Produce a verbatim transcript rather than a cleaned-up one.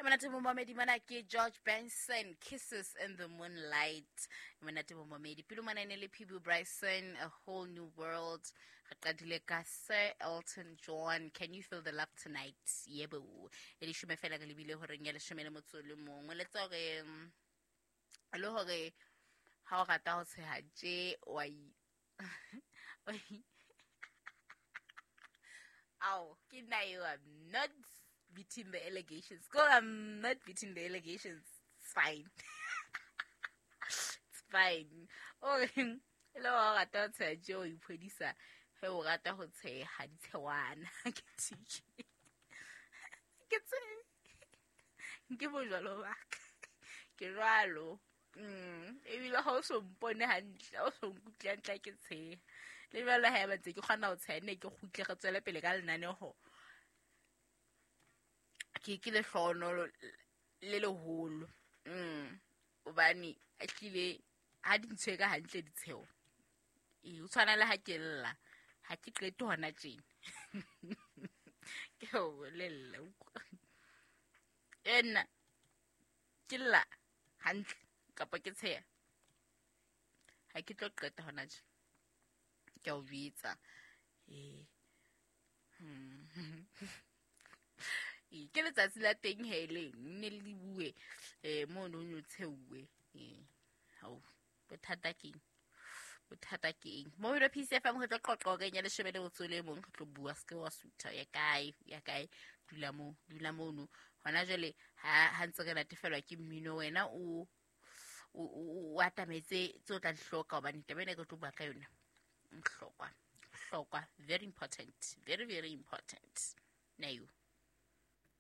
Monate momamedi, mona ke George Benson, Kisses in the Moonlight. Monate momamedi, pele mona e ne le P B Bryson, A Whole New World. Re qadile ka Sir Elton John, Can You Feel the Love Tonight. Yebo, e leshome fela re lebile horeng ya leshome le motso o le mong. O letsa hore mm, le hore ha o rata ho tsheha tje wa i- wa i- Ow, ke nna eo. I'm not beating the allegations. Go, I'm not beating the allegations. It's fine. It's fine. O reng? E le wa rata ho tsheha tje o iphodisa he o rata ho tsheha ditshewana. Ke tjhe. Ke tse ke bojwalo ba ka. Ke jwalo. Mm, ebile ha o so mpone hantle, ha o so nkutlwe hantle ha ke tsheha. Le jwale ha eba ntse ke kgona ho tsheha, nne ke kgutle re tswele pele ka lenaneho. Ke ke lehlohonolo le leholo. Mm, hobane ehlile ha di ntshwere ka hantle ditsheho. Ee, ho tshwana le ha ke lla, ha ke qete hona tjena. Ke o bolella. E nna ke lla hantle kapa ke tsheha. Ha ke tlo qeta hona tje. Ke a o jwetsa. Ee. Hmm. Ee, ke letsatsi la teng he leng nne le bue eh mono ho tsheuwe. Ee. Hao, bothata keng? Bothata ke eng? Mo P C F M re tlo qoqa horeng ya leshome le motso o le mong, re tlo bua se ke wa sutha ya kae, ya kae, dula moo, dula mono. Hona jwale ha ha ntse re natefelwa ke mmino wena o o o atametse tse o tla di hloka hobane taba ena ke tlo bua ka yona. Bohlokwa, bohlokwa, very important, very very important. Nayo.